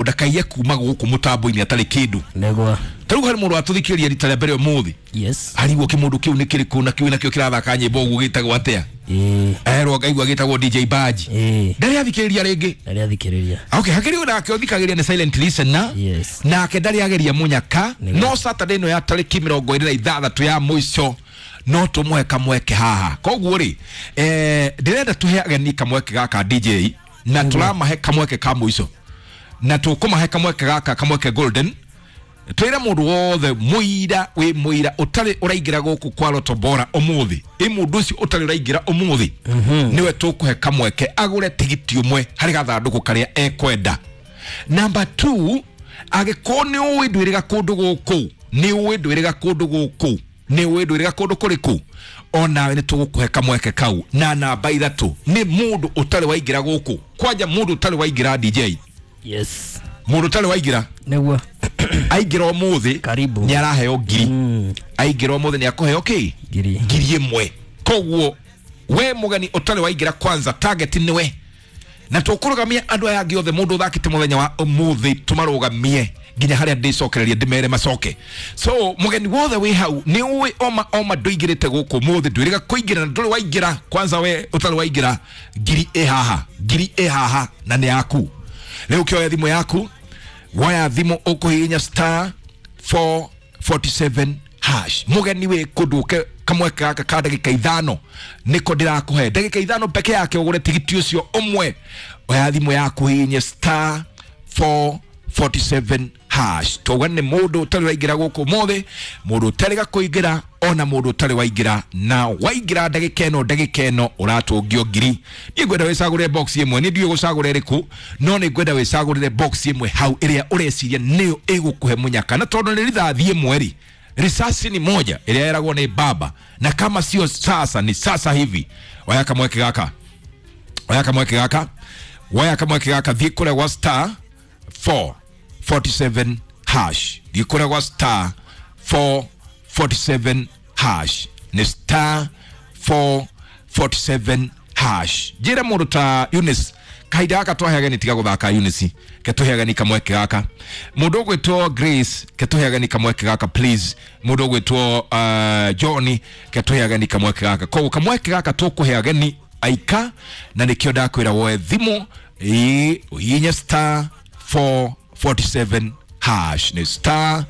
Ndakaiye kuma gũkũ mũtambo-inĩ atarĩ kĩndũ. Nĩguo. Ta rĩu harĩ mũndũ watũthikĩrĩria rita rĩa mbere ũmũthĩ. Yes. Arigwo kĩmũndũ kĩu nĩ kĩrĩkũ na kĩu nakĩo kĩrathaka nyĩmbo ũguo gĩtagwo atĩa. Erwo ngaigua gĩtagwo DJ Baji. Ndarĩ athikĩrĩria rĩngĩ. Ndarĩ athikĩrĩria. Okay, hakĩrĩ ũndũ nake ũthikagĩrĩria nĩ silent listener. Yes. Nake ndarĩ ageria mũnyaka. Nĩguo. No Saturday ĩno ya tarĩki 26 ya mũico no tũmũhe kamweke haha. Koguo rĩ, ndĩrenda tũhe ageni kamweke gaka DJ na tũramahe kamweke ka mũico. Na tũkũmahe kamweke gaka, kamweke golden. Twĩre mũndũ wothe mũira wĩ mũira ũtarĩ ũraingĩra gũkũ kwa Lotto Bora ũmũthĩ, ĩ mũndũ ũcio ũtarĩ ũraingĩra ũmũthĩ nĩwe tũkũhe kamweke agũre tigiti ũmwe harĩ gathandũkũ karĩa ekwenda. Number 2, angĩkorwo nĩ ũĩ ndwĩrĩga kũndũ gũkũ, nĩ ũĩ ndwĩrĩga kũndũ gũkũ, nĩ ũĩ ndwĩrĩga kũndũ kũrĩkũ, onawe nĩ tũgũkũhe kamweke kau. Na namba 3 nĩ mũndũ ũtarĩ waingĩra gũkũ, kwanja mũndũ ũtarĩ waingĩra DJ. Yes. Mũndũ ũtarĩ waingĩra. Nĩguo. Aingĩra ũmũthĩ. Karibu. Nĩ araheo ngiri. Aingĩra ũmũthĩ nĩ akũheo kĩ? Ngiri. Ngiri ĩmwe. Koguo we mũgeni ũtarĩ waingĩra kwanza target nĩwe. Na tũkũrũgamia andũ aya angĩ othe mũndũ ũthakĩte mũthenya wa ũmũthĩ tũmarũgamie nginya harĩa ndĩcokereria ndĩmere macoke. So mũgeni wothe wĩ hau nĩ ũĩ oma oma ndũingĩrĩte gũkũ ũmũthĩ, ndwĩrĩga kũingĩra na ndũrĩ waingĩra. Kwanza we ũtarĩ waingĩra, ngiri ĩ haha, ngiri ĩ haha na nĩ yaku. Rĩu ũkĩoya thimũ yaku, woya thimũ ũkũhihinya star 447 hash. Mũgeni wĩ kũndũ ũke kamweke gaka ka ndagĩka 5 nĩko ndĩrakũhe ndagĩka 5 peke yake ũgũre tigiti ũcio ũmwe. Oya thimũ yaku hihinye star 447 hash. Twauga nĩ mũndũ ũtarĩ waingĩra gũkũ ũmũthĩ, mũndũ ũtarĩ kũingĩra ona mũndũ ũtarĩ waingĩra, na waingĩra ndagĩka ĩno, ndagĩka ĩno ũratũngio ngiri. Niĩ ngwenda wĩcagũrĩre box ĩmwe, niĩ ndiũĩ gũcagũra ĩrĩkũ, no nĩ ngwenda wĩcagũrĩre box ĩmwe hau ĩrĩa ũreciria nĩyo ĩgũkũhe mũnyaka. Na tondũ nĩ rithathi ĩmwe rĩ, risasi ni moja ĩrĩa yeragwo nĩ baba, na kama sio sasa ni sasa hivi. Oya kamweke gaka, oya kamweke gaka, oya kamweke gaka, thiĩ kũrĩa gwa star 447 hash. Thiĩ kũrĩa gwa star 447 hash. Nĩ star 447 hash. Njĩre mũndũ ta Eunice, kahinda gaka twahe ageni tiga gũthaka Eunice, ke tũhe ageni kamweke gaka. Mũndũ ũgwĩtwo Grace, ke tũhe ageni kamweke gaka please. Mũndũ ũgwĩtwo Johnny, ke tũhe ageni kamweke gaka. Koguo kamweke gaka tũkũhe ageni aika, na nĩkĩo ndakwĩra woe thimũ ĩ ũhihinye star 447 hash. Nĩ star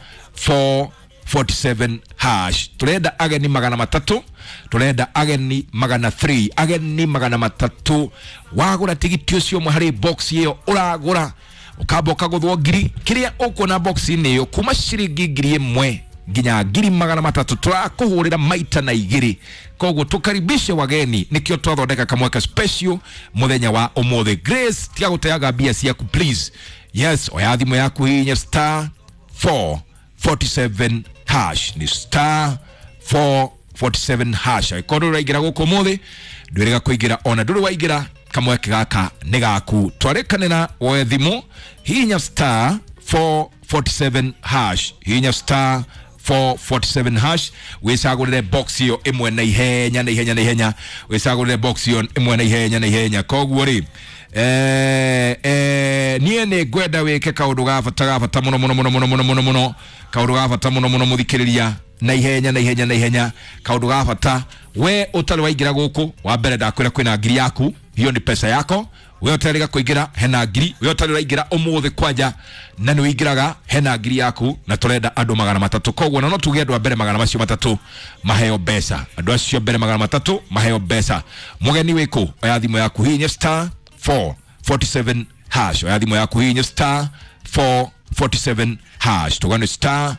447 hash. Turenda ageni 300, turenda ageni 300, ageni 300. Wagũra tigiti ũcio ũmwe harĩ box ĩyo ũragũra, ũkamba ũkagũthwo ngiri. Kĩrĩa ũkuona box-inĩ ĩyo kuma ciringi ngiri ĩmwe nginya ngiri 300, tũrakũhũrĩra maita na igĩrĩ. Koguo tũkaribishe wageni, nĩkĩo twathondeka kamweke special mũthenya wa ũmũthĩ. Grace, tiga gũteaga mbia ciaku please. Yes, oya thimũ yaku hihinya star 447 hash. Ni star 447 hash. Angĩkorwo ndũrĩ ũraingĩra gũkũ ũmũthĩ, ndwĩrĩga kũingĩra, ona ndũrĩ waingĩra, kamweke gaka nĩ gaku. Twarĩkanĩra woe thimũ, hihinya star 447 hash. Hihinya star 447 hash. Wĩcagũrĩre box ĩyo ĩmwe na ihenya, na ihenya, na ihenya. Wĩcagũrĩre box ĩyo ĩmwe na ihenya, na ihenya. Koguo rĩ, niĩ nĩ ngwenda wĩke kaũndũ ga bata, ga bata mũno, mũno, mũno, mũno, mũno, mũno, mũno. Kaũndũ ga bata mũno, mũno, mũthikĩrĩria na ihenya, na ihenya, na ihenya. Kaũndũ ga bata, we ũtarĩ waingĩra gũkũ, wa mbere ndakwĩra kwĩna ngiri yaku, hiyo ni pesa yako. We ũtarĩ kũingĩra hena ngiri, we ũtarĩ ũraingĩra ũmũthĩ kwanja na nĩ ũingĩraga hena ngiri yaku, na tũrenda andũ 300. Koguo na no tuge andũ a mbere magana macio matatũ maheo mbeca, andũ acio mbere 300 maheo mbeca. Mũgeni wĩkũ? Oya thimũ yaku hihinya star 447 hash. Oya thimũ yaku hihinya star 447 hash. Tugane star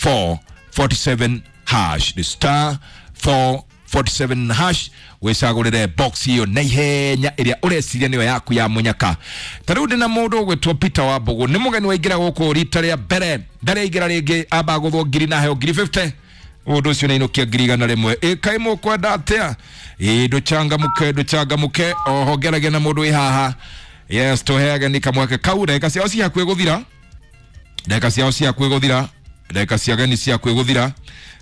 447 hash. Ni star 447 hash. Wĩcagũrĩre box ĩyo na ihenya ĩrĩa ũreciria nĩyo yaku ya mũnyaka. Ta rĩu ndĩna mũndũ ũgwĩtwo Peter Wambũgũ, nĩ mũgeni waingĩra gũkũ rita rĩa mbere, ndarĩ aingĩra rĩngĩ, amba agũthwo ngiri na aheo ngiri 50. Mũndũ ũcio nĩainũkia ngiri 100. Ĩ kaĩ mũkwenda atĩa? Ĩ ndũcangamũke, ndũcangamũke, oho ngeragia na mũndũ wĩ haha. Yes, tũhe ageni kamweke kau, ndagĩka ciao ci hakuhĩ gũthira, ndagĩka ciao ci hakuhĩ gũthira, ndagĩka cia ageni ci hakuhĩ gũthira.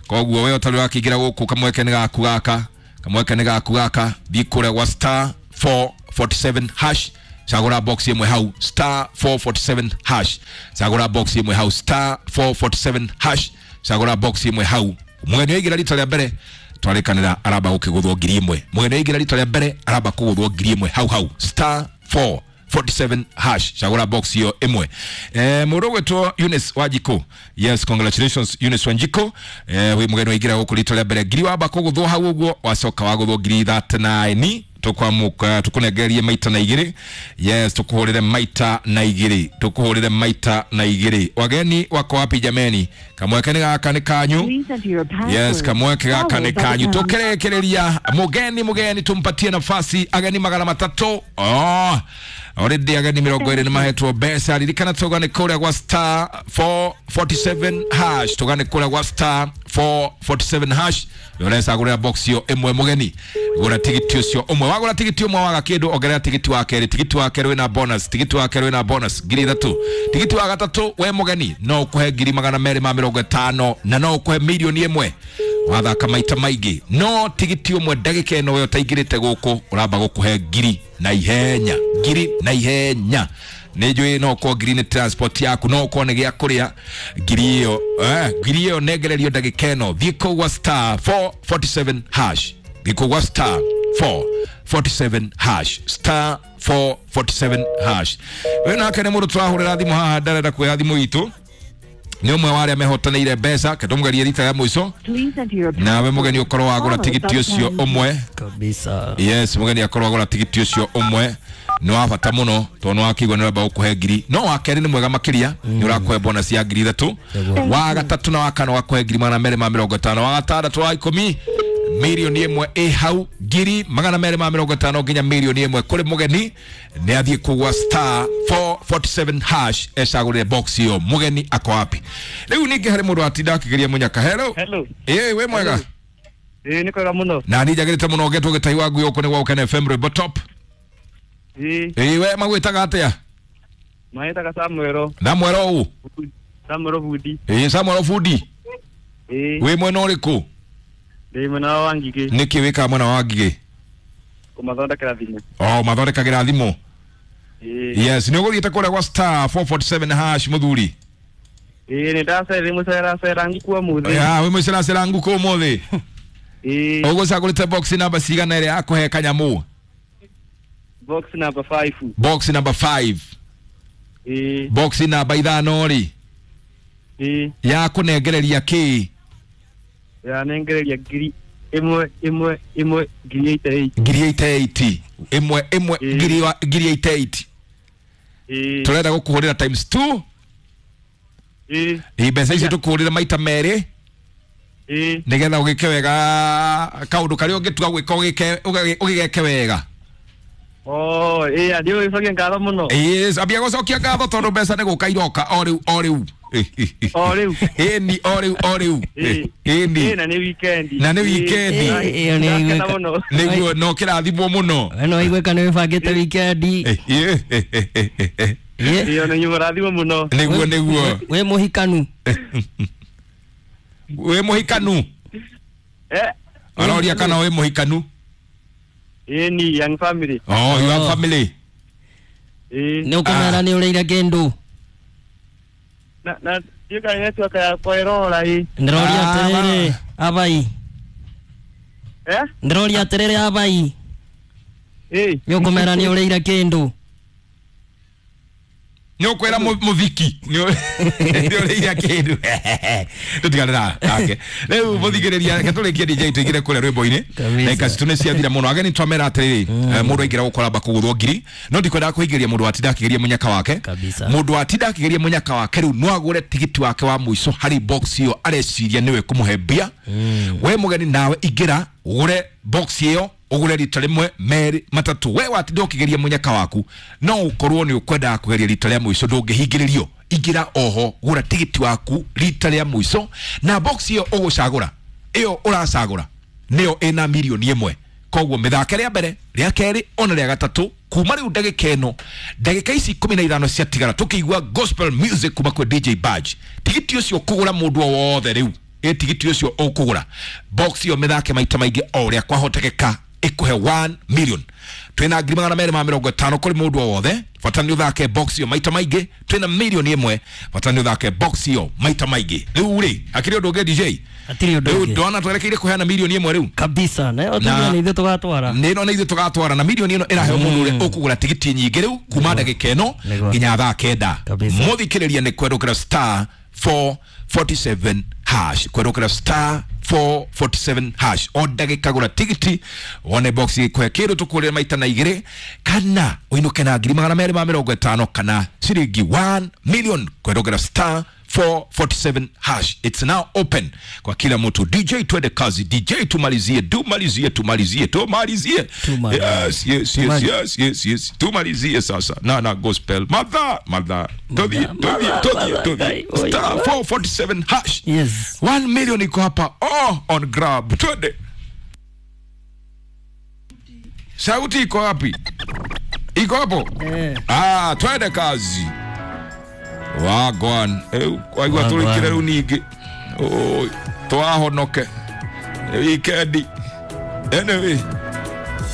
Koguo we ũtarĩ ũrakĩingĩra gũkũ, kamweke nĩ gaku gaka, kamweke nĩ gaku gaka. Thiĩ kũrĩa gwa star 447 hash, Cagũra box ĩmwe hau star 447 hash. Cagũra box ĩmwe hau star 447 hash. Cagũra box ĩmwe hau. Mũgeni waingĩra rita rĩa mbere twarĩkanĩra aramba gũkĩgũthwo 1000. Mũgeni waingĩra rita rĩa mbere aramba kũgũthwo 1000 hau hau star 447 hash. Cagũra box iyo ĩmwe. Mũndũ ũgwĩtwo Eunice Wanjikũ. Yes, congratulations Eunice Wanjikũ. Wĩ mũgeni waingĩra gũkũ rita rĩa mbere 1000 wamba kũgũthwo hau ũguo, wacoka wagũthwo 39 tukwamuka tukunengererie maita na igiri. Yes, tukuhurire maita na igiri, tukuhurire maita na igiri. Wageni wako wapi jameni? Kamweke ni gaka ni kanyu. Yes, kamweke gaka ni kanyu. Tukirekereria mugeni mugeni tumpatie nafasi ageni 300. Oh, already ageni 20 ni mahetwo mbeca. Ririkana tugane kuria gwa star 447 hash, tugane kuria gwa star 447 hash. Uresa gura box yo imwe mugeni, gura tigiti ucio umwe, wagura tigiti umwe waga kindu ongerera tigiti wa keri, tigiti wa keri wina bonus, tigiti wa keri wina bonus 3000, tigiti wa gatatu we mugeni no ukuhe 250 na no ukuhe 1,000,000 wathaka maita maingi. No tigiti umwe ndagika ino we utaingirite guku uramba gukuhe 1000 na ihenya, 1000 na ihenya. Nĩ njũĩ no ũkorwo 1000 nĩ transport yaku, no ũkorwo nĩ gĩa kũrĩa 1000 ĩyo, 1000 ĩyo nengererio ndagĩka ĩno. Thiĩ kũu gwa star 447 hash, thiĩ kũu gwa star 447 hash, star 447 hash. We nake nĩ mũndũ tũrahũrĩra thimũ haha ndarenda kuoya thimũ itũ, nĩ ũmwe wa arĩa mehotanĩire mbeca. Ke tũmũgerie rita rĩa mũico, nawe mũgeni ũkorwo wagũra tigiti ũcio ũmwe kabisa. Yes, mũgeni akorwo agũra tigiti ũcio ũmwe nĩ wa bata mũno tondũ nĩ wakĩigua nĩ ũramba gũkũhe 1000. No wa kerĩ nĩ mwega makĩria, nĩ ũrakũhe bonus ya 3000. Wa gatatũ na wa kana ũgakũhe 250, wa gatandatũ wa 10 1,000,000 ĩ hau, 250 nginya 1,000,000 kũrĩ mũgeni. Nĩ athiĩ kũgwa star 447 hash ecagũrĩre box ĩyo. Mũgeni ako wapi rĩu? Ningĩ harĩ mũndũ watinda akĩgeria mũnyaka. Hello. Hello. Ĩ wĩ mwega? Ĩ nĩ kwega mũno. Na niĩ njagĩrĩte mũno ngetwo gĩtai wa ngui gũkũ nĩ gwa Ũkene FM Rwĩmbo Top. Ĩ. Ĩ we magwĩtaga atĩa? Mahĩtaga Samuel. Samuel ũũ? Samuel Budi. Ĩ Samuel Budi. Ĩ. Wĩ mwena ũrĩkũ? Ndĩ mwena wa Ngigĩ. Nĩkĩ wĩkaga mwena wa Ngigĩ? Kũmathondekera thimũ. Oh, mathondekagĩra thimũ. Ĩ. Yes, nĩ ũgũthiĩte kũrĩa gwa star 447 hash mũthuri? Ĩ nĩ ndacerire mũceracera ngũkũ ũmũthĩ. Ya, wĩ mũceracera ngũkũ ũmũthĩ? Ĩ. Ũgũcagũrĩte box namba cigana ĩrĩa yakũhe kanyamũ? Box number 5. Box number 5. Ĩ. Box namba 5 rĩ. Ĩ. Ya kũnengereria kĩ? Ya nengereria 1000 1 1 1 1088. 1088. 1 1 1088. Ĩ. Tũrenda gũkũhũrĩra times 2. Ĩ. Ĩ mbeca icio tũkũhũrĩra maita merĩ. Ĩ. Nĩgetha ũgĩke wega kaũndũ karĩa ũngĩtua gwĩka ũgĩgeke wega. Oh, ĩ ndio gũcokia ngatho mũno. Yes, ambia gũcokia ngatho tondũ mbeca nĩ gũka iroka o rĩu o rĩu. O rĩu. Ĩni o rĩu o rĩu. Ĩni. Na nĩ weekend. Na nĩ weekend. Ĩyo nĩ Ndakena mũno. Nĩguo no kĩrathimwo mũno. We no iguĩka nĩ wĩbangĩte weekend. Ĩyo nĩ mũrathimwo mũno. Nĩguo nĩguo. Wĩ mũhikanu. Wĩ mũhikanu? Eh. Aroria kana wĩ mũhikanu? Ĩni young family. Oh, young family. Ĩ. Nĩ ũkũmera nĩ ũrĩire kĩndũ? Na na ndiũĩ network yakwa ĩrora ĩ. Ndĩroria atĩrĩrĩ abai. Eh? Ndĩroria atĩrĩrĩ abai. Ĩ. Nĩ ũkũmera nĩ ũrĩire kĩndũ? Nĩ ũkwĩra mũthiki nĩ ũrĩire kĩndũ. Tũtiganĩra nake rĩu mũthikĩrĩria, reke tũrĩkie DJ tũingĩre kũrĩa rwĩmbo-inĩ. Ndagĩka citũ nĩ ciathira mũno. Ageni twamera atĩrĩrĩ, mũndũ aingĩra gũkora amba kũgũthwo 1000, no ndikwendaga kũhingĩria mũndũ watinda akĩgeria mũnyaka wake. Mũndũ watinda akĩgeria mũnyaka wake rĩu no agũre tigiti wake wa mũico harĩ box ĩyo areciria nĩwe kũmũhe mbia. We mũgeni nawe ingĩra ũgũre box ĩyo, ũgũre rita rĩmwe merĩ matatũ. We watinda ũkĩgeria mũnyaka waku, no ũkorwo nĩ ũkwendaga kũgeria rita rĩa mũico, ndũngĩhingĩrĩrio. Ingĩra oho gũra tigiti waku rita rĩa mũico, na box ĩyo ũgũcagũra ĩyo ũracagũra nĩyo ĩna 1,000,000. Koguo mĩthake rĩa mbere rĩa kerĩ ona rĩa gatatũ kuma rĩu ndagĩka ĩno, ndagĩka ici 15 ciatigara tũkĩigua gospel music kuma kwĩ DJ Badge. Tigiti ũcio kũgũra mũndũ o wothe rĩu, ĩ tigiti ũcio ũkũgũra box ĩyo mĩthake maita maingĩ o ũrĩa kwahotekeka. Ĩkũhe 1 million. Twĩna 250,000 kũrĩ mũndũ o wothe, bata nĩ ũthake box ĩyo maita maingĩ. Twĩna 1 million, bata nĩ ũthake box ĩyo maita maingĩ. Rĩu rĩ, hakĩrĩ ũndũ ũngĩ, DJ? Hatirĩ ũndũ Rĩu ũngĩ. ndona twerekeire kũheana 1 million rĩu. Kabisa, na yo Na- tuge nĩ ithuĩ tũgatwara. Nä no nä ithuä tågatwara na milioni ä no ä raheo må ndå å rä a å kå gå ra tigiti nyingä rä u kuma ndagä ka ä no Nĩguo. nginya thaa 9. Kabisa. Må thikä rä ria nä kwerå kä ra star 447 hash, kwerå kä ra star 447 hash o ndagä ka, gå ra tigiti wone box kwe kä ndå tå kå rä maita na igä rä kana å inå ke na 250,000 kana ciringi 1 million, kwerå kä ra star 447 hash. It's now open kwa kila mtu. DJ, twende kazi. DJ, tumalizie, tumalizie, tumalizie, tumalizie. Tumalizie. Yes. Tumalizie. Yes, tumalizie sasa na gospel madha madha, tudhie, tudhie, tudhie, tudhie. Oi, Star 447 hash. Yes. 1 million iko hapa, oh, on grab. Twende. Sauti iko wapi? Iko hapo. Eh. Ah, twende kazi. Wagwan. Kwaigua Wagwan. tũrĩkĩre rĩu ningĩ. Oi, twahonoke wikendi. Anyway.